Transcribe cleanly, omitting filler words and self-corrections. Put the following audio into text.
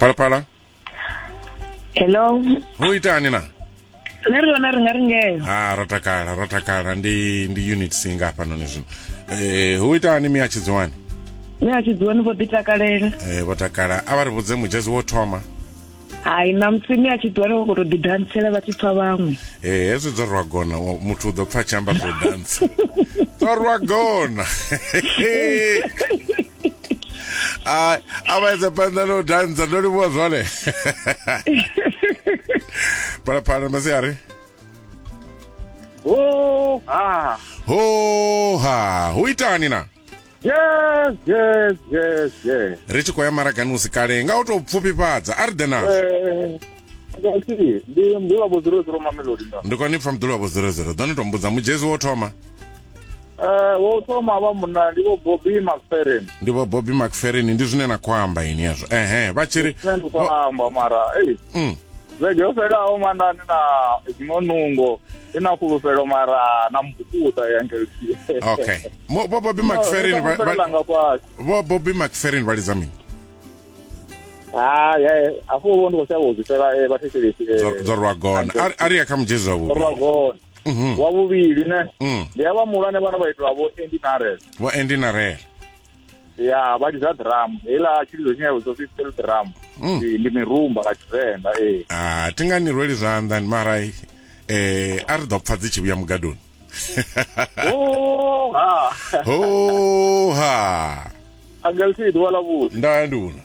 Phalaphala. Hello. Hu itani na? Nṋe ri hone, ri nga ri ngeo. Ha, ro takala, ro takala. Ndi unit C nga hafhanoni zwino. Hu itani mi a Tshidziwani? Mi a Tshidziwani vho ḓi takalela. Vho takala. A vha ri vhudze mudzhezi wo thoma. Hai, ṋamusi mi a Tshidziwani vho khou tou ḓi dantsela vha tshi pfa vhaṅwe. Hezwi dzo rwa gona, muthu u ḓo pfa tshi amba zwo dantsa. Dzo rwa gona. A a vha edza phanḓa no dantsa, ndo livhuwa zwone. Phalaphala masiari. Ho ha. Ho ha. Hu itani na? Yes, yes, yes, yes. Ri tshi khou ya maragani usi kale nga u tou pfufhifhadza a ri ḓe nazwo. Ndi mdula vho 00 Mamelodi nda. Ndi khou ni pfa mdula vho 00. Ḓo ni tou mbudza mudzhezi wo thoma. Wo thoma vha munna ndi vho Bobby McFerrin. Ndi vho Bobby McFerrin, ndi zwine na khou amba ini hezwo. Ehe, vha tshi ri Nṋe ndi khou amba mara ei. Vhege yo fhelaho mandani na dziṅwe nungo ina fhulufhelo mara na mbukuta ya ngelsi. Okay. Vho Bobby McFerrin vha vho Bobby McFerrin vha lidza mini? Ah, yeah, afho vho ndi khou shavha u zwi fhela vha thetshelesi. Dzo rwa gona. A ri ya kha mudzhezi wa vhuvhili. Rwa gona. Wa vhuvhili ne. Ndi avha muhulwane vhana vha itwa vho Andy Narel. Vho Andy Narel. Ya, vha lidza drum. Heiḽa tshilidzo tshine ya vhidzwa upfi steel drum. Ndi mirumba nga Tshivenḓa, ee. Ah, thi nga ni rweli zwanḓa mara a ri ḓo pfa dzi tshi vhuya mugadoni. Ho ha. Ho ha. Angelsi ḓuvha ḽa vhuḓi. Nda nduna.